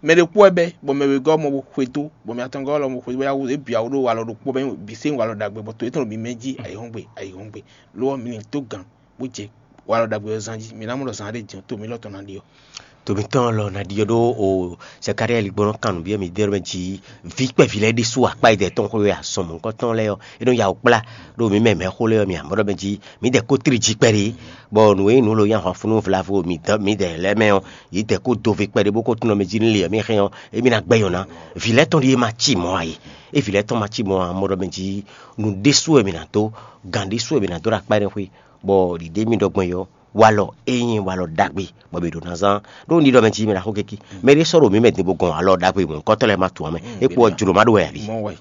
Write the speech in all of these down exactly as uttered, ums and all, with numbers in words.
Mɛ ɖé kpó wɛ bɛ́, bɔ mɛ wegɔ́ mɔ bó xwedó, bɔ mɛ atɔngɔ́ lɔ mɔ xwedó, bó yá wú é bǐ awu ɖó walɔ ɖokpó bɛ́ bǐ sé walɔ ɖagbe, bɔ to yětɔn ɖo mǐ mɛ jí ayǐhɔ́ngbe ayǐhɔ́ngbe. Lo ɔ́, mi lin dó gǎn, bó jɛ walɔ ɖagbe ɔ́ zán jí. Mi ná mɔ ɖɔ zán ɖé din ɔ́, to mǐ lɔ tɔn ná ɖi ɔ́. To mǐtɔn lɔ ná ɖi ɔ́ ɖó o Zakaliyáli gbɔn nɔ kan nǔ byɔ́ mi dɛ́ mɛ jí vǐ kpɛví lɛ́ɛ ɖésú akpá yi dɛ̌ tɔn xwé wɛ azɔn mɔ̌hunkɔtɔn lɛ́ɛ ɔ́, é nɔ ya wǔ kplá ɖo mǐ mɛ mɛ̌xó lɛ́ɛ ɔ́ mì ǎ. Mɔ̌ ɖɔ mɛ jí mǐdɛɛ kó tlí jí kpɛɖé, bɔ nǔ e nyí nǔ e lo nyí ahwanfunnú vlavo mǐdɛɛ lɛ́ɛ mɛ ɔ́, yě dɛɛ kó do ve kpɛɖé bó kó tunwun mɛ jí nú lě e mǐ hɛn ɔ́, émí ná gbɛ́ nyɔ̌ná. Vǐ lɛ́ɛ tɔn ɖíe ma cí mɔ̌ ǎ é. É vǐ lɛ́ɛ tɔn ma cí mɔ̌ ǎ, mɔ̌ ɖɔ mɛ jí nǔ ɖésú wɛ mǐ ná dó, gǎn ɖésú wɛ mǐ ná dó ɖo akpá énɛ́ xwé, bɔ ɖǐɖé mì ɖɔ gbɔn é ɔ́, walɔ é nyí walɔ ɖagbe, bɔ mǐ ɖo ná zán. Ɖó un ɖiɖɔ mɛ jí mɛ ná xó keki. Mɛ ɖé sɔ́ ɖo mǐ mɛ din bó gɔn walɔ ɖagbe mɔ̌hunkɔtɔn lɛ́ɛ ma tunwun ǎ mɛ. É kpo ɔ́ jlǒ má ɖó wɛ ǎ ví. Mɔ wɛ.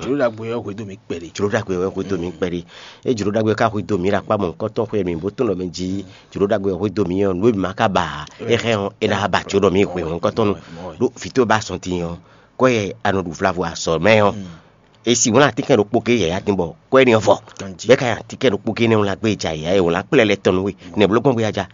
Jlǒ ɖagbe ɔ́ hwedó mǐ kpɛɖé. Jlǒ ɖagbe wɛ hwedó mǐ kpɛɖé. É jlǒ ɖagbe ká hwedó mǐ ɖo akpá mɔ̌hunkɔtɔn xwé mǐ bó tunwun ɖɔ mɛ jí jlǒ ɖagbe wɛ hwedó mǐ ɔ́, nǔ e mǐ ma ka ba ǎ, é hɛn ɔ́, é ná ba jǒ ɖɔ mǐ hwe mɔ̌hunkɔtɔn nu. Ɖó vǐ towe ba sɔn din ɔ́, kɔ́ yɛ a nɔ ɖu vlavo azɔ̌ mɛ ɔ́, è si wlán atínkɛn ɖokpó gé yǎyá din bɔ kɔ́ énɛ́ ɔ́ vɔ. Bɛ́ ka nyi atínkɛn ɖokpó gé énɛ́ wlán gbé e ja yǎyá e wlán kplɛ́ lɛ́ɛ tɔn nú we, nɛ̌ bló gbɔn gbé a ja?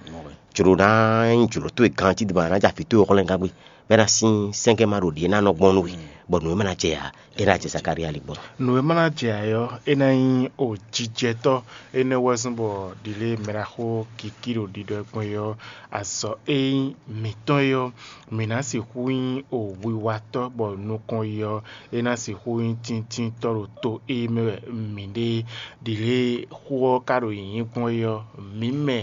Jlǒ ná nyí jlǒ towe ganjí din bɔ a nǎ ja vǐ towe hwlɛngán gbé, bɔ é ná sín sɛ́nkɛ́ ma ɖo ɖě ná nɔ gbɔn nú we, bɔ nǔ e ma ná jɛ ǎ, é ná jɛ Zakaliyáli gbɔn. Nǔ e ma ná jɛ ǎ é ɔ́, é ná nyí o jijɛtɔ́. Énɛ́ wɛ zɔ́n bɔ ɖǐlée mɛɖaxó Kiki ɖo ɖiɖɔ gbɔn é ɔ́, azɔ̌ e nyí mǐtɔn é ɔ́, mǐ ná sixú nyí o wiwatɔ́, bɔ nukɔn yi ɔ́, é ná sixú nyí tíntíntɔ́ ɖo to e mɛ wɛ mǐ ɖe. Ɖǐlée xó ɔ́ ka ɖo nyǐnyí gbɔn é ɔ́, mǐ mɛ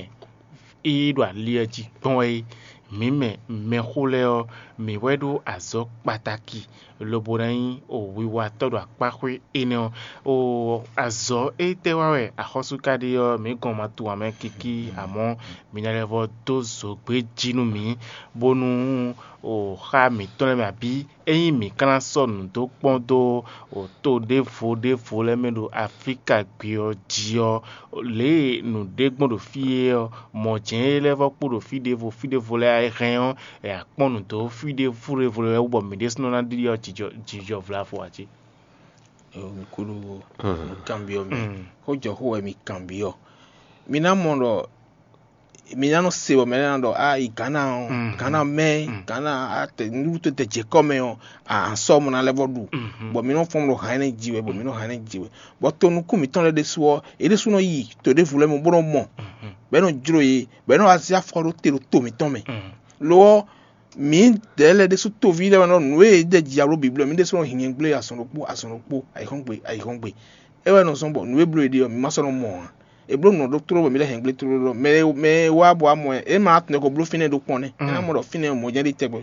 e ɖo ali ɔ́ jí gbɔn é, mǐ mɛ mɛxó lɛ́ɛ ɔ́, mǐ wɛ ɖó azɔ̌ kpataki, lobo ná nyí o wiwatɔ́ ɖo akpáxwé énɛ́ ɔ́. O azɔ̌ étɛ́ wa wɛ axɔ́sú ka ɖe ɔ́, mǐ gɔn ma tunwun ǎ mɛ kikí, amɔ̌ mi ná lɛ́ vɔ dó zǒgbé jí nú mǐ, bónú o xá mǐtɔn lɛ́ɛ mɛ abǐ ényí mǐ ka ná sɔ́ nǔ dó kpɔ́n dó to ɖěvo ɖěvo lɛ́ɛ mɛ ɖo Aflíka gbe ɔ́ jí ɔ́, lě e nǔ ɖe gbɔn ɖo fí é ɔ́, mɔ̌ jɛ́n é lɛ́ vɔ kpo ɖo fí ɖěvo fí ɖěvo lɛ́ɛ é hɛn ɔ́, è nǎ kpɔ́n nǔ dó fí ɖěvo ɖěvo lɛ́ɛ wú bɔ mǐ ɖésúnɔ ná ɖiɖi ɔ́ jijɔ jijɔ vlavo ǎ jí. Eo mi kúɖú nǔkanbyɔ́ mɛ. Xó jɔ xó wɛ mi kanbyɔ́. Mi ná mɔ ɖɔ mi ná nɔ se bɔ mɛ lɛ́ɛ ná ɖɔ a yi Gǎna ɔ́, Gǎna mɛ, Gǎna atɛ nǔɖuɖu tó tɛ jɛ kɔ́ mɛ ɔ́, a sɔ́ mɔ ná lɛ́ vɔ ɖu. Bɔ mi nɔ fɔ́n ɖo hǎn énɛ́ ji wɛ, bɔ mi nɔ hǎn énɛ́ ji wɛ. Bɔ to nukún mǐtɔn lɛ́ɛ ɖésú ɔ́, é ɖésú nɔ yi to ɖěvo lɛ́ɛ mɛ bó nɔ mɔ, bɔ é nɔ jló yě, bɔ é nɔ wá zé afɔ ɖó te ɖo to mǐtɔn mɛ. Lo ɔ́, mǐdɛɛ lɛ́ɛ ɖésú toví lɛ́ɛ wɛ nɔ nǔ e é ɖe ji alo bǐblɔ́ mǐ ɖésú nɔ hin nyɛgblé azɔn ɖokpó azɔn ɖokpó ayǐhɔ́ngbe ayǐhɔ́ngbe. É wɛ nɔ zɔ́n bɔ nǔ e bló è ɖe ɔ́, mǐ ma sɔ́ nɔ mɔ ǎ. È bló nǔ ɔ́ ɖó tlóló bɔ mǐ lɛ́ hɛn gblé tlóló ɖɔ mɛ e mɛ e wá bɔ wá mɔ ɛ, é ma tunwun kɔ bló fínɛ́ ɖokpɔ́n nɛ́. É ná mɔ ɖɔ fínɛ́ mɔ̌ jɛ́n ɖi tɛgbɛ.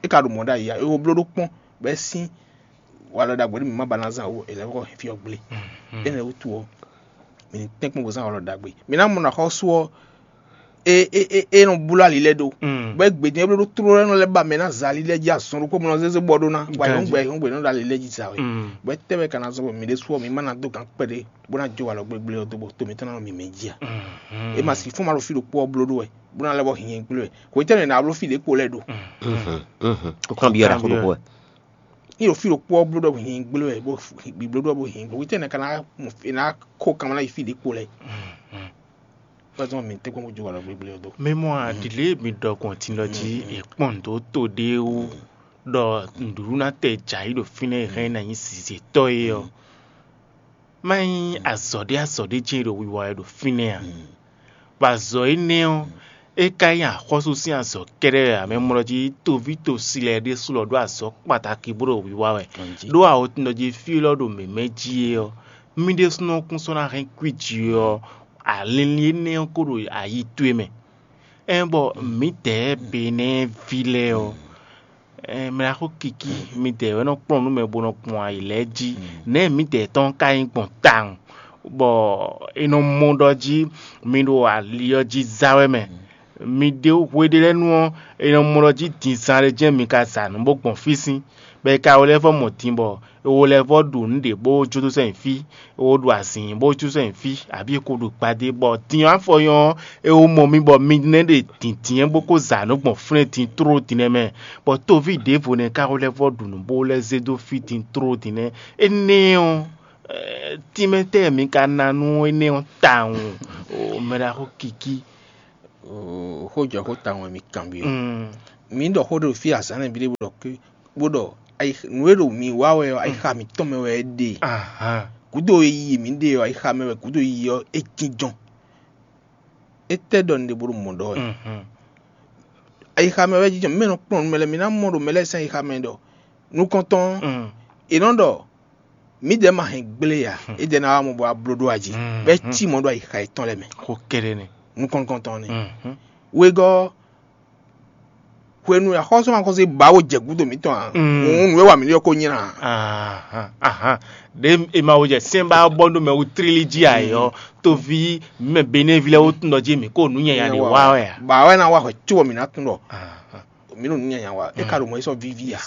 É ka ɖo mɔ̌ ɖ'ayǐ ǎ, é ko bló ɖó kpɔ́n, bɔ é sín walɔ ɖagbe ɖé mǐ ma ba ná zán ó, è lɛ́ vɔ hɛn fí ɔ́ gblé. Énɛ́ wútu ɔ́, mǐ ní tɛ́nkpɔ́n bó zán walɔ ɖagbe. Mǐ ná mɔ nǔ axɔ́sú ɔ́, é é é é nɔ bló ali lɛ́ɛ ɖó. Bɔ é gbe din é bló ɖó tlóló lɛ́ɛ nɔ lɛ́ ba mɛ ná za ali lɛ́ɛ jí azɔn ɖokpó mɔ nɔ zézé bɔ ɖó ná, bɔ ayǐhɔ́ngbe ayǐhɔ́ngbe nɔ ɖo ali lɛ́ɛ jí za wɛ. Bɔ é tɛ́ wɛ ka ná zɔ́n bɔ mǐ ɖésú ɔ́, mǐ ma ná dó gǎn kpɛɖé bó ná jó walɔ gblégblé ɔ́ dó bɔ to mǐtɔn ná nɔ mǐmɛ́ jí ǎ. É ma sixú ma ɖo fí ɖokpó ɔ́ bló ɖó wɛ, bó ná lɛ́ vɔ hin nyɛgblé wɛ. Hwetɛ́nu è nǎ bló fí ɖě kpo lɛ́ɛ ɖo? Kó kanbyɔ́ ɖaxó ɖokpó wɛ. Ní ɖo fí ɖokpó ɔ́ bló ɖɔ hin nyɛgblé wɛ, bó bló ɖɔ bó hin nyɛgblé. Hwetɛ́nu è ka ná mɔ è nǎ kó kanmɛ ná yi fí ɖě kpo lɛ́ɛ? Wɛ zɔn mǐ tɛ́nkpɔ́n bó jó walɔ gblégblé ɔ́ dó. Mɛ mɔ aɖǐ lě e mi ɖɔ gbɔn din lɔ jí è kpɔ́n nǔ dó to ɖé wú ɖɔ nǔɖuɖu ná tɛ jǎ yi ɖo fínɛ́ e hɛn ná nyí zǐzétɔ́ é ɔ́. Má nyí azɔ̌ ɖé azɔ̌ ɖé jɛ́n e ɖo wiwa wɛ ɖo fínɛ́ a? Bɔ azɔ̌ énɛ́ ɔ́, é ka nyí axɔ́sú sín azɔ̌ kɛ́ɖɛ́ wɛ ǎ, mɛ mɔ ɖɔ jí toví tosi lɛ́ɛ ɖésú lɔ ɖó azɔ̌ kpatáki bó ɖo wiwa wɛ. Ɖó awotun ɖɔ jí fí élɔ́ ɖo mǐmɛ́ jí é ɔ́, mì ɖésúnɔ kún sɔ́ ná hɛn kwíji ɔ́, alinlin énɛ́ ɔ́ kó ɖo ayi towe mɛ. Ɛn bɔ mǐdɛɛ Benɛ́ɛví lɛ́ɛ ɔ́, ɛn mɛ ná xó kiki, mǐdɛɛ wɛ nɔ kplɔ́n nǔ mɛ bó nɔ gbɔn ayǐ lɛ́ɛ jí. Nɛ̌ mǐdɛɛ tɔn ka nyí gbɔn tawun, bɔ è nɔ mɔ ɖɔ jí mi ɖo ali ɔ́ jí zá wɛ mɛ? Mi ɖe hwe ɖé lɛ́ɛ nu ɔ́, è nɔ mɔ ɖɔ jí dinzan ɖé jɛ́n mi ka za nǔ bó gbɔn fí sín, bɔ è ka wɛ lɛ́ vɔ mɔ din bɔ è wo lɛ́ vɔ ɖu nǔ ɖě bó jó dó sɛ́n fí, è wo ɖu azǐn bó jó sɛ́n fí, abǐ è ko ɖu gbadé, bɔ din ɔ́ afɔ nyɔ́ ɔ́, è wo mɔ mi bɔ mi nɛ́ ɖe dǐndín bó kó za nǔ gbɔn flɛ́n din tló din nɛ́ mɛ, bɔ toví ɖěvo nɛ́ ka wɛ lɛ́ vɔ ɖu nǔ bó lɛ́ zé dó fí din tló din nɛ́. Énɛ́ ɔ́, tínmɛ tɛ́ mi ka ná nú énɛ́ ɔ́ tawun? Mɛ ɖaxó Kiki. Xó jɔ xó tawun wɛ mi kanbyɔ́. Mǐ ɖɔ xó ɖo fí azǎn nɛ́ ví ɖé bó ɖɔ ké bó ɖɔ nǔ e ɖo mǐ wa wɛ ɔ́, ayixa mǐtɔn mɛ wɛ é ɖe. Gǔdo e yi mǐ ɖe ɔ́, ayixa mɛ wɛ gǔdo e yi ɔ́ é jínjɔ́n. Étɛ́ ɖɔ un ɖe bó ɖo mɔ̌ ɖɔ wɛ? Ayixa mɛ wɛ jínjɔ́n. Mǐ mɛ nɔ kplɔ́n nǔ mɛ lɛ́ɛ, mǐ ná mɔ ɖo mɛ lɛ́ɛ sín ayixa mɛ ɖɔ nukɔntɔn ɔ́, è nɔ ɖɔ mǐdɛɛ ma hɛn gblé ǎ, édɛɛ ná wá mɔ bɔ wá bló ɖó aji, bɔ é cí mɔ̌ ɖo ayixa yětɔn lɛ́ɛ mɛ. Xó kɛ́ɖɛ́ nɛ́. Nukɔn nukɔntɔn ɔ́ nɛ́. Wegɔ́ ɔ́, hwenu e axɔ́súmaxɔ́sú e ba wo jɛ gǔdo mǐtɔn ǎ, hǔn nǔ e wa mǐ ɖe ɔ́ ko nylá ǎ. Ahan, ahan. Ɖě è ma wo jɛ sɛ́n ba bɔ ɖó mɛ wú tlílí jí ǎ é ɔ́, toví mɛ Benɛ́ví lɛ́ɛ wú tunɖɔ jí mǐ ko nǔ nyanya ɖě wa wɛ ǎ. Ba wɛ ná wa hwɛ cóbɔ mǐ ná tunɖɔ. Mǐ ɖo nǔ nyanya wa, é ka ɖo mɔ̌ yi sɔ́ víví ǎ.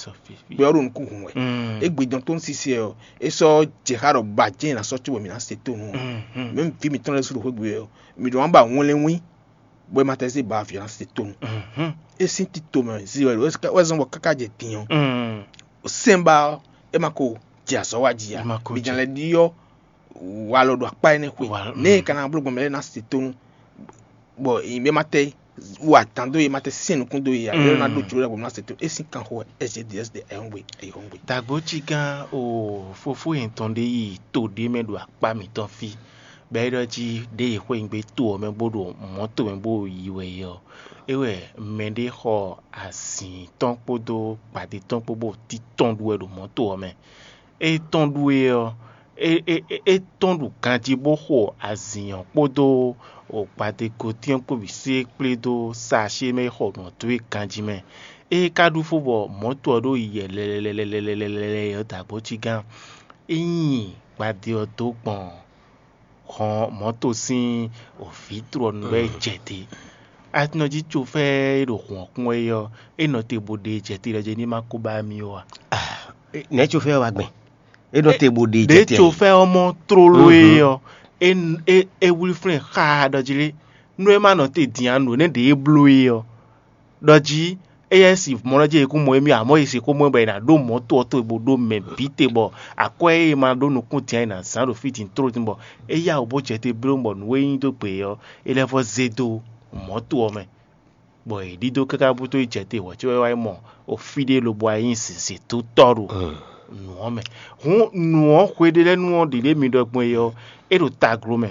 Gbɛ ɔ́ ɖo nukún hun wɛ. Égbé dɔn tó ń sisɛ ɔ́, é sɔ́ jɛ xá ɖɔ ba jɛ́n è nǎ sɔ́ cóbɔ mǐ ná se tónú ɔ́. Mɛ̌ vǐ mǐtɔn lɛ́ɛ sú ɖo xwé gbe wɛ ɔ́, mǐ ɖo wǎn ba wɛnlɛ́nwín bɔ é ma tɛ́ zé ba violence tomɛ. É sín tito mɛ zí wɛ wɛ zɔn bɔ káká jɛ din ɔ́, sɛ́nba ɔ́, é ma ko jɛ azɔ̌ wa jí ǎ. Bǐ nya lɛ́ ɖyɔ́ walɔ ɖo akpá énɛ́ xwe. Nɛ̌ è ka ná bló gbɔn mɛ lɛ́ɛ ná se tónú, bɔ è ma tɛ wa dǎn dó yě, ma tɛ syɛ́n nukún dó yě ǎ, é ná ɖó jlǒ ɖagbe ná se tónú. É sín kanxo wɛ S G D S de ayɔ́ngbe ayɔ́ngbe. Dǎgbócígán o, fofó yětɔn ɖé yi to ɖé mɛ ɖo akpá mǐtɔn fí. Bɔ é ɖɔ jí ɖěe xweyǐgbe to ɔ́ mɛ bó ɖo mɔ̌to mɛ bó yi wɛ é ɔ́, é wɛ mɛɖé xɔ azǐn tɔn kpódó gbadé tɔn kpó bó títɔn ɖu wɛ ɖo mɔ̌to ɔ́ mɛ. É tɔn ɖu é ɔ́, é é é tɔn ɖu ganjí bó xo azǐn ɔ́ kpódó gbadégotín ɔ́ kpó bǐ sé kplé dó saashí e mɛ é xɔ nǔ ɔ́ dó é ganjí mɛ. Ée é ka ɖu fó bɔ mɔ̌to ɔ́ ɖo yi yɛlɛlɛlɛlɛlɛlɛ ɔ́, dǎgbócígán, é nyi gbadé ɔ́ dó gbɔn hɔn mɔ̌to sín vǐtru ɔ́ nu wɛ jɛ te. Atinɔjí cofɛ́ e ɖo hǔn ɔ́ kún wɛ é ɔ́, é nɔ te bó ɖe jɛ te ɖɔ jɛ ní ma kó ba mì ó a? Nɛ̌ cofɛ́ ɔ́ wá gbɛn? É nɔ te bó ɖe jɛ te. Ɖě cofɛ́ ɔ́ mɔ tlóló é ɔ́, é é é wlí flɛ́n xaa ɖɔ jí lé, nú é ma nɔ te din ǎ, nǔ énɛ́ ɖě é bló é ɔ́, ɖɔ jí éyɛ́ si mɔ ɔ́ jí è kún mɔ émí ǎ, amɔ̌ è sixú mɔ ɛ bɔ è nǎ ɖó mɔ̌to ɔ́ to bó ɖó mɛ bǐ te bɔ akwɛ́ e è ma ɖó nukún din ǎ è nǎ zán ɖo fí din tlóló din bɔ é yá wǔ bó jɛ te bló bɔ nǔ e nyí dó gbe ɔ́, é lɛ́ vɔ́ zé dó mɔ̌to ɔ́ mɛ, bɔ è ɖidó káká bútó yi jɛ te hwɛ̌ có é wá yi mɔ fí ɖé lobo wá nyí zǐnzǐntɔ́ ɖo nǔ ɔ́ mɛ. Hǔn nǔ ɔ́ hweɖélɛ́nu ɔ́ ɖě ɖě mi ɖɔ gbɔn é ɔ́, é ɖo taglo mɛ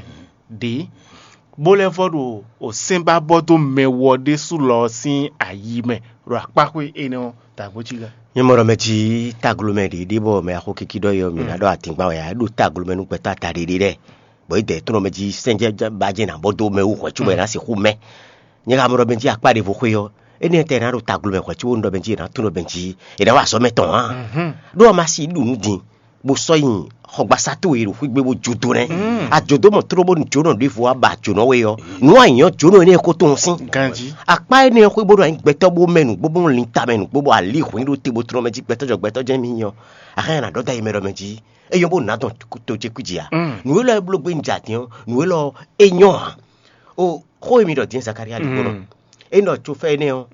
ɖě, bó lɛ́ vɔ́ ɖo sɛ́n ba bɔ dó mɛ wɔ ɖésú lɔ ɔ́ sín ayi mɛ ɖo akpáxwé énɛ́ ɔ́ dǎgbócí gán. Nyɛ mɔ ɖɔ mɛ jí taglo mɛ ɖě ɖé bɔ mɛ axó kiki ɖɔ yɔ mǐ ná ɖɔ atǐngban wɛ ǎ, é ɖo taglo mɛ nú gbɛtɔ́ ata ɖě ɖé lɛ́ɛ, bɔ é dɛ tɔn mɛ jí sɛ́njɛ ba jɛ nǎ bɔ dó mɛ wú hwɛ̌ cóbɔ è nǎ sixú mɛ. Nyɛ ka mɔ ɖɔ mɛ jí akpá ɖěvo xwé ɔ́, énɛ́ tɛ ná ɖo taglo mɛ hwɛ̌ cóbɔ un ɖɔ mɛ jí è nǎ tún ɖɔ mɛ jí è nǎ wa azɔ̌ mɛ tɔn ǎ. Ɖó a ma si ɖu nǔ din bó sɔ́ nyi xɔgbasá towe ɖo xwígbe bó jó dó nɛ́. Àjǒdómɔ tló bónú jónɔ ɖěvo wá ba jǒnɔ we ɔ́, nǔ anyǐnyɔ́ jónɔ énɛ́ ko tunwun sín. Ganjí. Akpá énɛ́ ɔ́ xwé bónú anyi gbɛtɔ́ bó mɛ nǔgbó bónú linta mɛ nǔgbó bó alí hwǐn ɖó te bó tlɔ́n mɛ jí gbɛtɔ́ jɔ gbɛtɔ́ jɛ́n mì nyɔ. Axán yɛ nǎ ɖɔ dó ayi mɛ ɖɔ mɛ jí, é nyɔ́ bónú nǎ dɔn to ce kwíji ǎ. Nǔ élɔ́ e bló gbé un jɛ adǐn ɔ́, nǔ élɔ́ ɔ́, é nyɔ́ ǎ. O xó e mi ɖɔ din Zakaria ɖi gbɔn ɔ́, é nɔ tso fɛ énɛ́ ɔ́,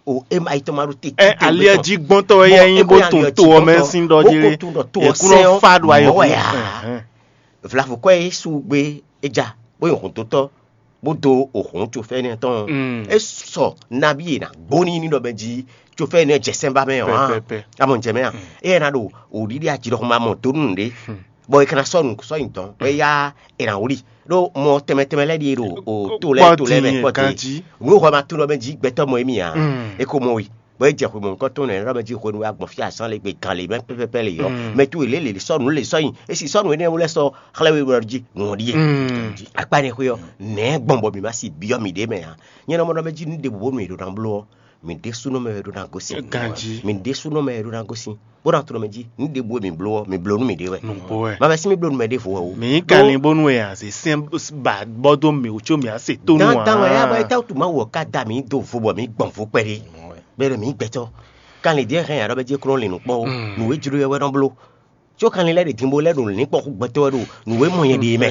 o é ma yi tɔn ma ɖo te. Ɛ aliɛ jí gbɔntɔ wɛ yɛ nyi bó tun to ɔ mɛ sín ɖɔ jí lé. Ekun nɔ fa ɖo ayɔ wɛ ya. Vlavo kɔ e su gbe edza bó yi hun dotɔ bó do ohun tso fɛ énɛ́ tɔn. É sɔ nabi e na gbóni ní ɖɔ mɛ jí tso fɛ énɛ́ jɛ sɛnba mɛ ɔ́. Amɔ jɛ mɛ a? Eye na ɖo òɖiɖi ajilɔxɔma mɔ donu ɖe. Bɔ e kana sɔ nu sɔ nyi dɔn bɔ eya e na wuli ɖo mɔ tɛmɛ tɛmɛ lɛ ɖi ɖo o to lɛ to lɛ mɛ kpɔte. Nu xɔ ma to lɔ mɛ jí gbɛtɔ mɔ emi a? E ko mɔ yi bɔ e jɛ xwe mɔ nukɔ tɔn nɛ lɔ mɛ jí xwe nu agbɔn fi azan le gbe gan le mɛ pɛpɛpɛ le yɔ mɛ tu ele le sɔ nu le sɔ yin esi sɔ nu ene wlɛ sɔ xlɛ we wlɔ jí nu ɔdi ye. Akpa ne xwe yɔ nɛ gbɔn bɔ mi ma si biɔ mi ɖe mɛ a? Nyɛ nɔ mɔ ɖɔ mɛ jí nu ɖe bu bonu mi ɖo na bló ɔ mi ɖe sunɔ mɛ wɛ ɖo na gosi. Ganji. Mi ɖe sunɔ mɛ wɛ ɖo na gosi. Bó ná tlɔ mɛ jí nu ɖe bu mi bló ɔ mi bló nu mi ɖe wɛ. Nugbo wɛ. Ma bɛ si mi bló nu mɛ ɖe vo wɛ o. Mi kalin bonu wɛ a se sɛn ba bɔ do mi o tso mi a se to nu a. Dandan wɛ ya bɔ eta tu ma wɔ ka da mi do vo bɔ mi gbɔn vo kpɛɖe. Bɛ ɖo mi gbɛtɔ. Kalin diɛ hɛn ya ɖɔ bɛ jɛ kúrò linu kpɔ o. Nu wɛ jlo yɛ wɛ nɔ bló. Có kanlin lɛ́ɛ ɖe din bó lɛ́ ɖo lǐnkpɔ́ xú gbɛtɔ́ wɛ ɖo nǔ e mɔ nyɛ ɖe mɛ.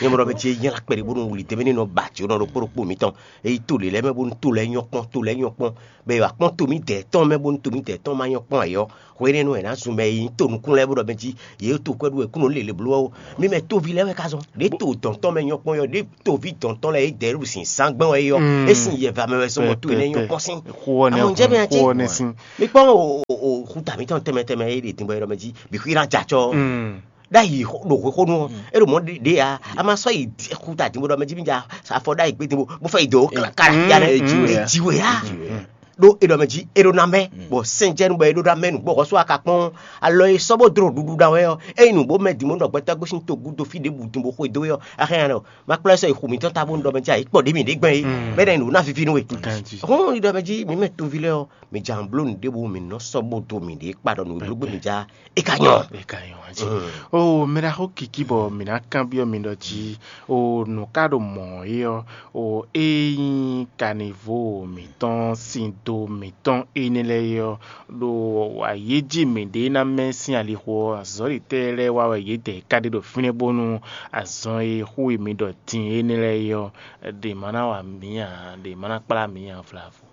Nyɛ mɔ ɖɔ mɛ ce nyɛ la kpɛɖe bónú wuli tɛnmɛ ní nɔ ba jǒ nɔ ɖokpó ɖokpó mǐtɔn. Eye to lě lɛ́ɛ mɛ bónú to lɛ́ɛ nyɔ́ kpɔ́n, to lɛ́ɛ nyɔ́ kpɔ́n, bɔ è wǎ kpɔ́n to mǐdɛɛ tɔn mɛ bónú to mǐdɛɛ tɔn ma nyɔ́ kpɔ́n ǎ é ɔ́, hwenɛ́nu è nǎ zun mɛ e nyí to nukún lɛ́ɛ bó ɖɔ mɛ jí yě to kwɛ́ ɖó wɛ kú nɔ lě lě bló ɔ́. Mí mɛ tóví lɛ́ɛ wɛ ka zɔn. Ɖě to dɔ̌n tɔn mɛ nyɔ́ kpɔ́n é ɔ́, ɖě toví dɔ̌n tɔn lɛ́ɛ é dɛ̌ ɖo sin zán gbɛ́n wɛ é ɔ́, é sin yɛva mɛ wɛ sɔ́ mɔ to énɛ́ nyɔ́ kpɔ́n sín. Xu ɔ́ nɛ́ Amɔ jẹ́ bɛ́ jí. Xu ɔ́ nɛ́ sín. Mi kpɔ́n o o o xuta mǐtɔn tɛnmɛ tɛnmɛ e ɖe din bɔ é ɖɔ mɛ jí bǐ xwí ná jɛ acɔ. Ɖ'ayǐ ɖo xwexónú ɔ́, é ɖo mɔ̌ ɖe ǎ. A ma sɔ́ yi xuta din bó ɖɔ mɛ jí mì ja afɔ ɖ'ayǐ gbé din bó bó fɛ yi dǒ kára ya nɛ. É jí wɛ. É jí wɛ á. Ɖó é ɖɔ mɛ jí é ɖó ná mɛ, bɔ sɛ́njɛ́nú bɔ é ɖó ná mɛ nǔgbó xɔ́sú aka kpɔ́n alɔ e sɔ́ bó dló ɖuɖu ná wɛ ɔ́, ényí nǔgbó mɛ din bó nɔ gbɛtɔ́ gosín togun dó fí ɖěbǔ din bó xwedó é ɔ́, axɛ́ nya nɔ ma kplɔ́ sɔ́ yi xu mǐtɔn ta bónú ɖɔ mɛ jí ayǐ kpɔ ɖě mǐ ɖě gbɛn é, bɛ ɖɔ nǔ ná víví nú we. Hɔn ɖɔ mɛ jí mǐ mɛ toví lɛ́ɛ ɔ́, mǐ ja bló nǔɖé bó mǐ nɔ sɔ́ bó dó mǐɖée kpa ɖɔ nǔ e bló gbé mǐ ja é ka nyɔ. É ka nyɔ ǎ jí. Oo, mɛ ɖaxó Kiki bɔ mǐ ná kanbyɔ́ mi ɖɔ jí, oo, nǔ ka ɖo mɔ̌ é ɔ́, oo, é nyí kanivo mǐtɔn, sindo mǐtɔn énɛ́ lɛ́ɛ é ɔ́, ɖo ayǐ jí mǐɖée ná mɛ sín alixo ɔ́, azɔ̌litɛ́ lɛ́ɛ wá wɛ yědɛɛ ka ɖe ɖo fínɛ́ bónú azɔn e xú e mi ɖɔ din énɛ́ lɛ́ɛ é ɔ́, ɖě ma ná wa mǐ ǎ, ɖě ma ná kplá mǐ ǎ vlavo.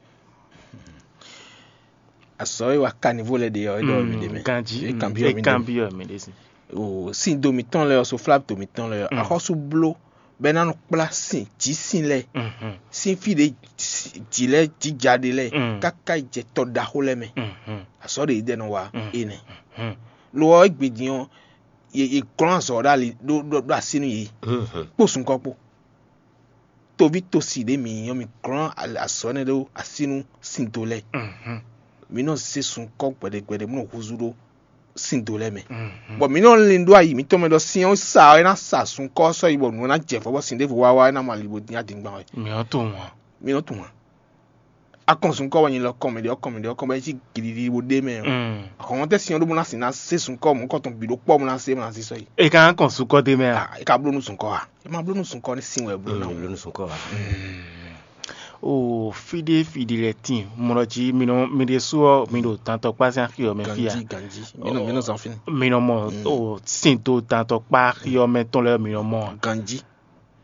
Azɔ̌ e wa kanivo lɛ́ɛ ɖe ɔ́, é ɖɔ mi ɖe mɛ. Ganjí. É kanbyɔ́ mi ɖe mɛ. Kanbyɔ́ mi ɖe si. O, sín do mǐtɔn lɛ́ɛ ɔ́, sofláto mǐtɔn lɛ́ɛ ɔ́, axɔ́sú bló bɔ é ná nɔ kplá sin jǐsin lɛ́ɛ, sín fí ɖě jǐ lɛ́ɛ jǐja ɖe lɛ́ɛ, káká yi jɛ tɔ ɖaxó lɛ́ɛ mɛ. Azɔ̌ ɖě yi ɖɛ nɔ wa énɛ́. Lo ɔ́, égbé din ɔ́, yě yě glɔ́n azɔ̌ ɖó ali ɖó ɖó ɖó así nú yě, kpó sunkɔ́ kpó. Toví tosi ɖě mǐ nyí ɔ́, mǐ glɔ́n azɔ̌ énɛ́ ɖó así nú síndo lɛ́ɛ. Mǐ nɔ zé sunkɔ́ gbɛɖe gbɛɖe bó nɔ húzú ɖó síndo lɛ́ɛ mɛ. Bɔ mǐ nɔ lin ɖó ayi mǐtɔn mɛ ɖɔ sin ɔ́ sa ɔ́, é ná sa sunkɔ́ ɔ́ sɔ́ yi bɔ nǔ ɔ́ ná jɛ fɔ́ bɔ sin ɖěvo wá wá é ná mɔ ali bó dín adingban wɛ. Mǐ nɔ tunwun ǎ. Mǐ nɔ tunwun ǎ. Akɔn sunkɔ́ wɛ nyi lɔ kɔn mɛ ɖě ɔ́ kɔn mɛ ɖě ɔ́ kɔn bɔ é cí gilili bó ɖ'é mɛ ɔ́. Ahɔ̌nmɔtɛ́ sin ɔ́ ɖó bó ná sin ná zé sunkɔ́ mɔ̌hunkɔtɔn bǐ ɖó kpɔ́ bó ná zé bó ná zé sɔ́ yi. È ka ná kɔn sunkɔ́ d'é mɛ a? Ah, è ka bló nú sunkɔ́ a? È ma bló nú sunkɔ́ ní sin wɛ bló ná. Bló nú sunkɔ́ a? O fí ɖé fí ɖé lɛ́ɛ tíin, mɔ ɖɔ jí mi nɔ mi ɖésú ɔ́ mi ɖo dantɔkpá sín axi ɔ́ mɛ fí a? Ganjí, ganjí. Mǐ nɔ mǐ nɔ zán fínɛ́. Mi nɔ mɔ o sin do dantɔkpá axi ɔ́ mɛ tɔn lɛ́ɛ mi nɔ mɔ a? Ganjí.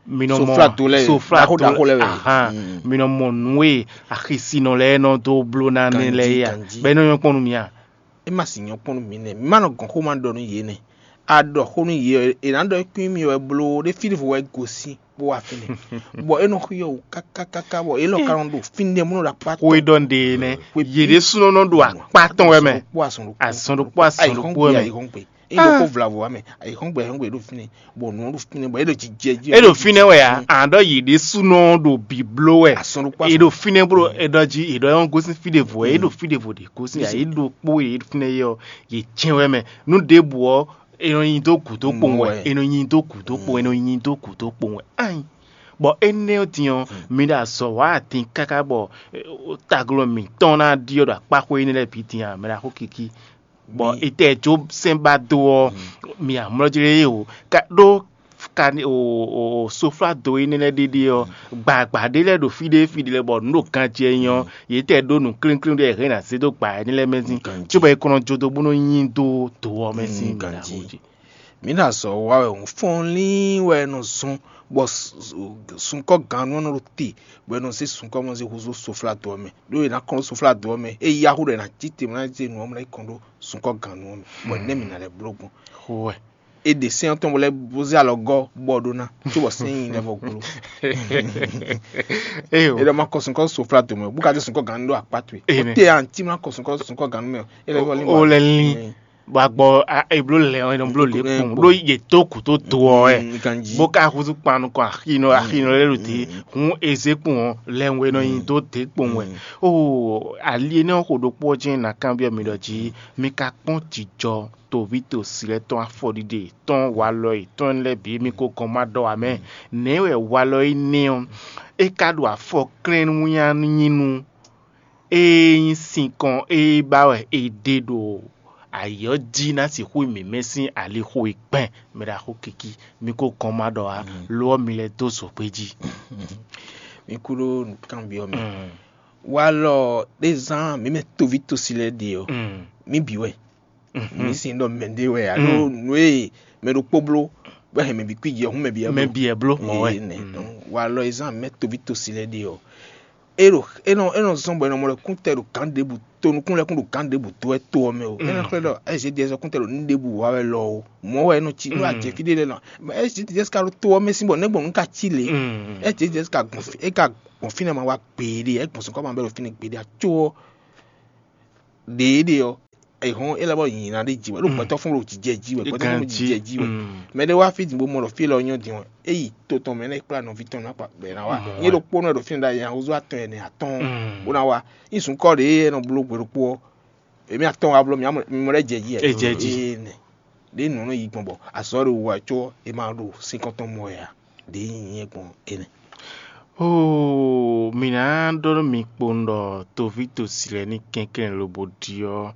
Mi nɔ mɔ Soflado lɛ́ɛ, soflado ɖaxó ɖaxó lɛ́ɛ wɛ. Ahan. Mi nɔ mɔ nǔ e axisinɔ lɛ́ɛ nɔ dó bló ná nɛ́ lɛ́ɛ é a? Ganjí, ganjí. Bɔ é nɔ nyɔ́ kpɔ́n nú mi a? É ma sixú nyɔ́ kpɔ́n nú mǐ nɛ́. Mǐ ma nɔ gɔn xó ma ɖɔ nú yě nɛ́. A ɖɔ xó nú yě ɔ́, è nǎ ɖɔ é kún nyí mì wɛ bló ɖé fí ɖěvo wɛ gosín bó wá fínɛ́. Bɔ é nɔ xyɔ wǔ káká káká bɔ é lɔ ka nɔ ɖo fínɛ́ bó nɔ ɖo akpá tɔn. Xó e ɖɔ un ɖe é nɛ́. Xwé yě ɖésúnɔ nɔ ɖo akpá tɔn wɛ mɛ. Azɔn ɖokpó azɔn ɖokpó azɔn ɖokpó wɛ mɛ. Ayǐhɔ́ngbe, ayǐhɔ́ngbe. É nɔ kó vlavo wá mɛ. Ayǐhɔ́ngbe, ayǐhɔ́ngbe ɖo fínɛ́. Bɔ nǔ ɔ́ ɖo fínɛ́ bɔ é ɖo jijɛ jí. É ɖo fínɛ́ wɛ a? Àná ɖɔ yě ɖésúnɔ ɖo bǐbló wɛ. Azɔn ɖokpó azɔn. É ɖo fínɛ́ bó ɖo é ɖɔ jí è ɖɔ é gosín fí ɖěvo wɛ. É ɖo fí ɖěvo ɖě gosín a? É ɖo kpó yě fínɛ́ yɛ ɔ́, yě jɛ́n wɛ mɛ. Nú ɖěbǔ ɔ́, è nɔ nyi dó gǔdo kpowun wɛ. È nɔ nyi dó gǔdo kpowun. È nɔ nyi dó gǔdo kpowun wɛ. Ayi. Bɔ énɛ́ ɔ́ din ɔ́, mi ɖo azɔ̌ wa din káká bɔ taglɔ́ mǐtɔn ná ɖyɔ́ ɖo akpáxwé énɛ́ lɛ́ɛ bǐ din a? Mɛ ɖaxó Kiki. Bɔ etɛ́ jó sɛ́n ba dó ɔ́, mi amlɔ́ jlé o. Ka ɖó ka o o soflado énɛ́ lɛ́ɛ ɖéɖé ɔ́, gbǎgbá ɖé lɛ́ɛ ɖo fí ɖé fí ɖé lɛ́ɛ bɔ nǔ ɖo ganjɛ nyí ɔ́, yě tɛ ɖó nǔ klínkín ɖé hɛn ná zé dó gbǎ énɛ́ lɛ́ɛ mɛ sín, cóbɔ é kɔn nɔ jó dó bó nɔ nyi dó do ɔ́ mɛ sín mǐ ɖaxó jí. Mǐ ɖo azɔ̌ wa wɛ hǔn fɔ́n lín wɛ è nɔ zɔn, bɔ sunkɔ́ gannú ɔ́ nɔ ɖo te, bɔ è nɔ zé sunkɔ́ mɔ zé húzú soflado ɔ́ mɛ, ɖó è nǎ kɔn ɖó soflado ɔ́ mɛ, é yá hú ɖɔ è nǎ cí te bó ná zé nǔ ɔ́ mɛ ná yi kɔn ɖó sunkɔ́ gannú ɔ́ mɛ, bɔ nɛ̌ mǐ ná lɛ́ bló gbɔn? Xó wɛ. È ɖe sɛ́n ɔ́ tɔn bó lɛ́ bó zé alɔ gɔ́ bɔ ɖó ná, cóbɔ sɛ́n nyi lɛ́ vɔ gbló. Éyo. É ɖɔ ma kɔ sunkɔ́ soflado mɛ, bó ka dé sunkɔ́ gannú ɖó akpá towe. Éyo. Ó te anti ma kɔ sunkɔ́ sunkɔ́ gannú mɛ, é lɛ́ vɔ lí. Ó lɛ́ lí. Bɔ agbɔ ebló lɛ ɔ́, nɔ bló lě kpɔn ɖó yě tó kú tó do ɔ́ wɛ, bó ka húzú kpan nukɔn axinɔ axinɔ lɛ́ɛ ɖo dě, hǔn ezé kpɔn ɔ́, lɛnwɛ nɔ nyi dó dě kpɔn wɛ. Oo, ali énɛ́ ɔ́ xo ɖokpó ɔ́ jɛ́n ná kanbyɔ́ mi ɖɔ jí mi ka kpɔ́n jijɔ toví tosi lɛ́ɛ tɔn afɔɖiɖe tɔn walɔ yětɔn lɛ́ɛ bǐ mi ko gɔn ma ɖɔ ǎ mɛ. Nɛ̌ wɛ walɔ énɛ́ ɔ́, é ka ɖo afɔ klɛ́n nú nyá nú nyi nú Ée nyí sinkɔn e ba wɛ è ɖe ɖo ayǐ ɔ́ jí ná sixú nyí mǐmɛ́ sín alixo e gbɛn mɛ ɖaxó Kiki, mi ko gɔn ma ɖɔ ǎ, lo ɔ́, mi lɛ́ dó zǒgbé jí. Mi kú ɖó nǔkanbyɔ́ mɛ. Walɔ ɖé zán mǐ mɛ toví tosi lɛ́ɛ ɖe ɔ́, mǐ bǐ wɛ. Mǐ sin ɖɔ mɛ ɖé wɛ alo nǔ e mɛ ɖokpó bló bɔ hɛn mɛ bǐ kwíji ɔ́, hǔn mɛ bǐ wɛ mɛ bló. Bǐ ɛ bló mɔ̌ wɛ. Nɛ walɔ e zán mɛ toví tosi lɛ́ɛ ɖe ɔ́, é nɔ é nɔ zɔ́n bɔ è nɔ mɔ ɖɔ kúntɛ ɖo gǎn ɖěbǔ to nukún lɛ́ɛ kún ɖo gǎn ɖěbǔ dó wɛ to ɔ́ mɛ o. É nɔ xlɛ́ ɖɔ S G D S ɔ́ kúntɛ ɖo nǔ ɖěbǔ wa wɛ lɔ o. Mɔ̌ wɛ é nɔ cí nú a jɛ fí ɖé lɛ́ɛ nɔ S G D S ka ɖo to ɔ́ mɛ sín bɔ nɛ́ gbɔn nǔ ka cí lě. S G D S ka gbɔn fí é ka gbɔn fínɛ́ ma wá gbeɖé, é gbɔn sɔ̌ kɔ ma bɛ ɖo fínɛ́ gbeɖé a có ɔ́ ɖěeɖe ɔ́, è hɔn é lɛ́ bɔ nyǐ ná ɖé ji wɛ ɖó gbɛtɔ́ fún ɖo jijɛ ji wɛ gbɛtɔ́ fún ɖo jijɛ ji wɛ. Mɛ ɖé wá fí din bó mɔ ɖɔ fí lɔ nyɔ́ din ɔ́, é yi to tɔn mɛ nɛ́ kplá nɔví tɔn ná kpa bɛ̌ ná wá. Nyɛ ɖokpónɔ ɖo fínɛ́ ɖ'ayǐ nya húzú atɔn ɛnɛ atɔ́ɔ́n bó ná wá. Nyí sunkɔ́ ɖě e nɔ bló gbe ɖokpó ɔ́, èmi atɔn wá bló mi mɔ ɖɛ́ jɛ ji wɛ. È jɛ ji. Nɛ ɖě nǔ nɔ yi gbɔn bɔ azɔ̌ ɖo wú wɛ có è ma ɖo sín kɔn tɔn mɔ wɛ ǎ. Ɖě nyí nyɛ gbɔn énɛ́. Oo, mǐ ná ɖɔ nú mi kpowun ɖɔ toví tosi lɛ́ɛ ní kɛnklɛ́n lobo ɖyɔ́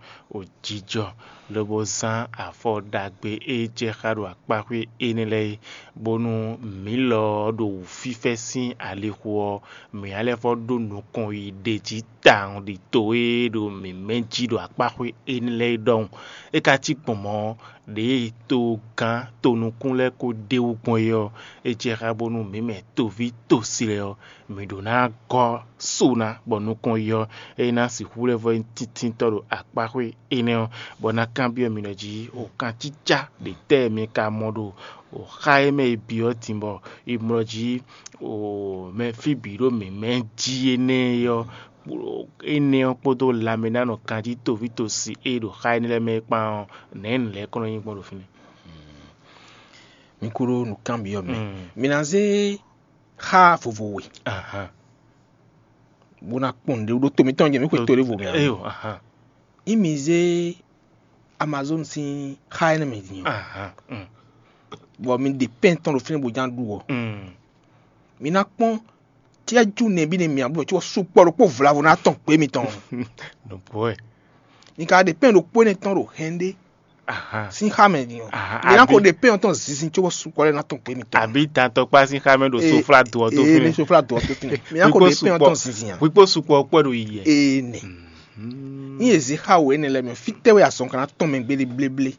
jijɔ, lobo zán afɔ ɖagbe e jɛ xá ɖo akpáxwé énɛ́ lɛ́ɛ é, bónú mǐ lɔ ɔ́ ɖo wǔfífɛ́ sín alixo ɔ́, mǐ ná lɛ́ vɔ́ ɖó nukɔn yi ɖě jí tawun ɖi to e ɖo mǐ mɛ jí ɖo akpáxwé énɛ́ lɛ́ɛ é ɖɔhun. É ka cí gbɔn mɔ̌ ɔ́, ɖěe togán tonukún lɛ́ɛ ko ɖ'é wú gbɔn é ɔ́, é jɛ xá bónú mǐ mɛ toví tosi lɛ́ɛ ɔ́, mǐ ɖó ná gɔ́ so ná bɔ nukɔn yi ɔ́, é ná sixú lɛ́ vɔ́ nyí tíntínntɔ́ ɖo akpáxwé énɛ́ ɔ́, bɔ ná kanbyɔ́ mi ɖɔ jí o kancícá ɖě tɛ́ mi ka mɔ ɖo o xá e mɛ e byɔ́ din bɔ è mlɔ jí o mɛ fí bǐ ɖo mǐmɛ́ jí énɛ́ é ɔ́, énɛ́ ɔ́ kpódó lanmɛnánɔ kanjí toví tosi e ɖo xá énɛ́ lɛ́ɛ mɛ é kpán ɔ́, nɛ̌ nǔ lɛ́ɛ kɔn nɔ nyí gbɔn ɖo fínɛ́? Mi kúɖó nǔkanbyɔ́ mɛ. Mi ná zé xá vovo we, bó ná kpɔn nǔɖé ɖó to mitɔn jɛ mǐ xwe to ɖěvo mɛ ǎ. Eyo, ahan. Imi zé Amazon sín xá énɛ́ mɛ din ɔ́, ahan. Mm. Bɔ mi ɖe pɛ́n tɔn ɖo fínɛ́ bó ján ɖu ɔ́, Mm. mi ná kpɔ́n cɛ́jú nɛbí nɛ mǐ bló có sukpɔ́ ɖokpó vlavo ná tɔn gbě mitɔn. Nɔbɔɛ. Mi ka ɖe pɛ́n ɖokpó énɛ́ tɔn ɖo hɛn ɖé Ahan. Sín xá mɛ din ɔ́, Ahan, mi ná ko abi- ɖe pɛ́n ɔ́ tɔn zinzin có sukpɔ́ lɛ́ɛ ná tɔn gbě mitɔn. Àbí dantɔkpá sín xá mɛ ɖo Ee, soflá do ɔ́ tó ee, fínɛ́. Ní soflá do ɔ́ tó fínɛ́. Mi ná ko Wíkpó ɖe pɛ́n ɔ́ sukpɔ́- tɔn zinzin a? Wíkpó sukpɔ́ kpɔ́ ɖo yi yɛ. Ee nɛ. Ní yě zé xá wǒ énɛ́ lɛ́ɛ mɛ, fítɛ́ wɛ azɔn ka ná tɔn mɛ gbéɖé bléblé?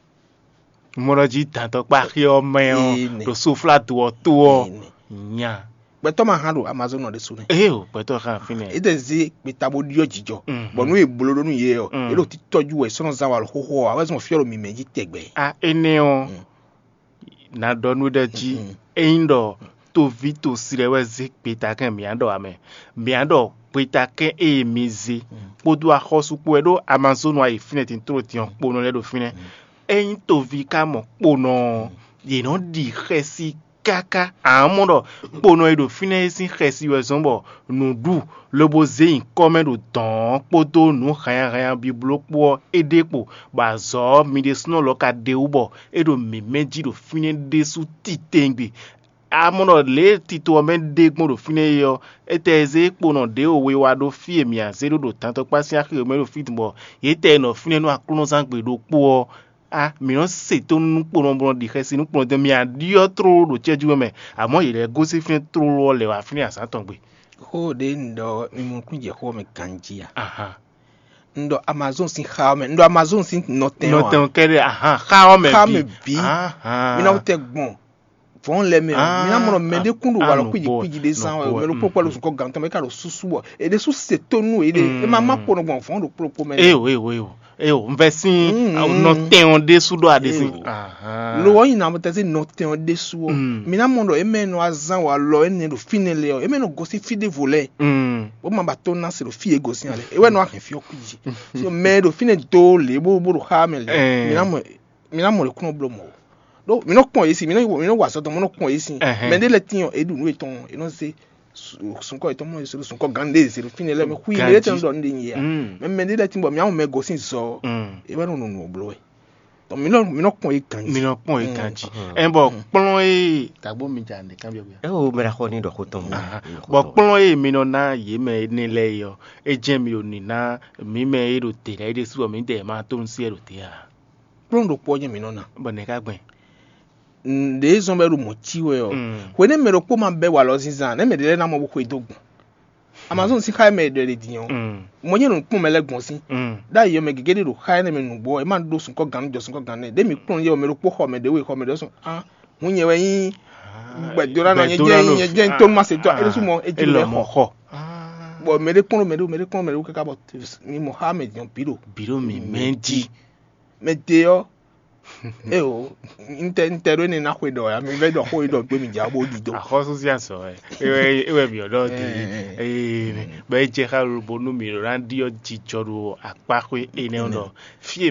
Mɔ ɖɔ jí dantɔkpá xé ɔ́ mɛ ɔ́ Ee nɛ. Ɖo soflá do ɔ́ tó ɔ́ Ee nɛ. Nya. Gbɛtɔ́ ma hán ɖo Amazon ɔ ɖésú nɛ. Eye o, gbɛtɔ́ xá fínɛ́. É tɛ zé gbeta bó ɖyɔ́ jijɔ. Mhm. Bɔ nú è bló ɖó nú yě ɔ, Mm. é ɖo títɔ́jú wɛ sɔ́nɔ zán wa lɔ xóxó ɔ, awɛ́ zɔn fyɔ́ ɖo mǐmɛ́ jí tɛgbɛ. A énɛ́ ɔ́, Mm. na ɖɔ nú ɖɔ jí Mm. ényí ɖɔ toví tosi lɛ́ɛ wɛ zé gbetakɛ́n mǐ á ɖɔ ǎ mɛ. Mǐ á ɖɔ gbetakɛ́n e mi zé Mm. kpódó axɔ́sú kpó wɛ ɖó Amazon wa yi fínɛ́ tin tló din ɔ́ kponɔ lɛ́ɛ ɖo fínɛ́. Ényí toví ka mɔ kponɔ ɔ́, yě nɔ ɖi xɛsi káká. Amɔ̌ ɖɔ kponɔ e ɖo fínɛ́ é sín xɛsi wɛ zɔ́n bɔ nǔɖu lobo zé nyǐkɔ mɛ ɖo dɔ̌n ɔ́ kpódó nǔ hannyahannya bibló kpó ɔ́, é ɖe kpo, bɔ azɔ̌ ɔ́, mi ɖésúnɔ lɔ ka ɖe wú bɔ é ɖo mǐmɛ́ jí ɖo fínɛ́ ɖésú titewungbe. Amɔ̌ ɖɔ lě e tito ɔ́ mɛ ɖe gbɔn ɖo fínɛ́ é ɔ́, étɛ́ e zé kponɔ ɖěwo we wá ɖó fí e mǐ a zé ɖó ɖo dantɔkpá sín axi e mɛ ɖo fí din bɔ yě tɛ e nɔ fínɛ́ nú aklúnɔzán gbe ɖokpó ɔ́, a mǐ nɔ se tónú nú kponɔ bɔ nɔ ɖi xɛsi nú kponɔ dɔn mǐ a ɖyɔ́ tlóló ɖo cɛ́jú mɛ, amɔ̌ yě lɛ́ gosín fínɛ́ tlóló ɔ́ lɛ̌ wá fínɛ́ azǎn tɔn gbe. Xó ɖě un ɖɔ mi mɔ kún jɛ xó ɔ́ mɛ ganjí a? Ahan. Un ɖɔ Amazon sín xá ɔ́ mɛ, un ɖɔ Amazon sín nɔtɛn ɔ́ a? Nɔtɛn kɛɖɛ ahan xá ɔ́ mɛ Xá bǐ. Mɛ bǐ. Ahan. Mi ná wú tɛ gbɔn vɔ̌n lɛ mɛ ɔ, mi ná mɔ mɛɖé kún ɖo walɔ kwíji kwíji ɖé zán wɛ, mɛ ɖokpó kpɛ́ ɖo zukɔ gǎn tɔn mɛ ká ɖo súsú bɔ è ɖésú se tónú yě ɖe, è ma má kpo nɔ gbɔn vɔ̌n ɖokpó ɖokpó mɛ. Eyo eyo eyo eyo, un vɛ sín nɔtɛn ɔ́ ɖésú ɖɔ aɖe sín. Lo ɔ́ nyi na tɛ́sí nɔtɛn ɔ́ ɖésú ɔ́, mi ná mɔ ɖɔ é mɛ nɔ azán walɔ énɛ́ ɖo fínɛ́ lɛ ɔ́, é mɛ nɔ gosín fí ɖěvo lɛ́ɛ, bó ma ba tó ná se ɖo fí e gosín ǎ lɛ, é wɛ nɔ ahɛn fí ɔ́ kwíji. So mɛ e ɖo fínɛ́ dó lě bó bó ɖo xá mɛ lɛ, mi ná mɔ mi ná mɔ ɖě kún nɔ bló mɔ̌ ó. Ɖó mi nɔ kpɔn yě sin, mi nɔ mi nɔ wa azɔ̌ tɔn, mi nɔ kpɔn yě sin. Mɛ ɖé lɛ́ɛ tín ɔ́, é ɖu nǔ yětɔn, é nɔ zé sunkɔ yětɔn mɔ yě sunkɔ gán ɖé zé ɖo fínɛ́ lɛ́ɛ mɛ xwí mɛ ɖé tɛn ɖɔ nɖé nyi yě a. Mɛ mɛ ɖé lɛ́ɛ tín bɔ mi ná mɔ mɛ gosín zɔ ɔ́, é wɛ nɔ nɔ nǔ ɔ́ bló wɛ. Donc mi nɔ mi nɔ kpɔn yě ganjí. Mi nɔ kpɔn yě ganjí. Ɛn bɔ kplɔ́n e tagbo mi ja ne kan biɔ biɔ. Eo mɛ ɖaxɔ ni ɖɔ xó tɔn. Bɔ kplɔ́n e mi nɔ ná yě mɛ énɛ́ lɛ́ɛ é ɔ́, é jɛ́n mi ɖo nǐ ná mǐ mɛ e ɖo te lɛ́ɛ é ɖésú ɔ́, mǐdɛɛ ma tó nú sí wɛ ɖo te ǎ. Kplɔ́n ɖokpó ɔ́ jɛ́n mǐ nɔ ná. Bɔ nɛ̌ ka gbɛn? Ɖě zɔn bɔ é ɖo mɔ̌ cí wɛ ɔ́, hwenɛ́ mɛ ɖokpó ma bɛ́ walɔ zínzán, nɛ̌ mɛ ɖě lɛ́ɛ ná mɔ bó xwedó gbɔn? Amazon sín xá e mɛ è ɖɔ è ɖe din ɔ́, mo nyɛ nɔ kpɔ́n mɛ lɛ́ɛ gbɔn sín. Ɖ'ayǐ ɔ́, mɛ gěgé ɖé ɖo xá énɛ́ mɛ nǔgbó ɔ́, è má ɖó sunkɔ́ gannú jɔ sunkɔ́ gannú nɛ́. Ɖěe mǐ kplɔ́n yɛ ɔ́, mɛ ɖokpó xɔ mɛ ɖě we xɔ mɛ ɖě sɔn. Á, hǔn nyɛ wɛ nyí gbɛdóɖánɔ, nyɛ jẹ́ nyɛ jẹ́ tó má se tɔ́, é ɖésú mɔ é jí lɔ xɔ. Bɔ mɛ ɖé kplɔ́n mɛ ɖé, mɛ ɖé kplɔ́n mɛ ɖé káká bɔ mi mɔ xá mɛ din ɔ́ bǐ ɖo. Bǐ ɖo mǐ mɛ jí. Mɛ te ɔ́, eo, ntɛ ntɛ ɖó énɛ́ ná xwe ɖɔ ya, mi vɛ ɖɔ xó yi ɖɔ gbé mi dza bó ɖi dó. Axɔ́sú sín azɔ̌ wɛ é wɛ é wɛ mǐ ɔ́ ɖɔ di. Eye bɔ é jɛ xá lobo nú mǐ ɖo ná ɖyɔ́ jijɔ ɖo akpáxwé énɛ́ ɔ́ ɖɔ fí e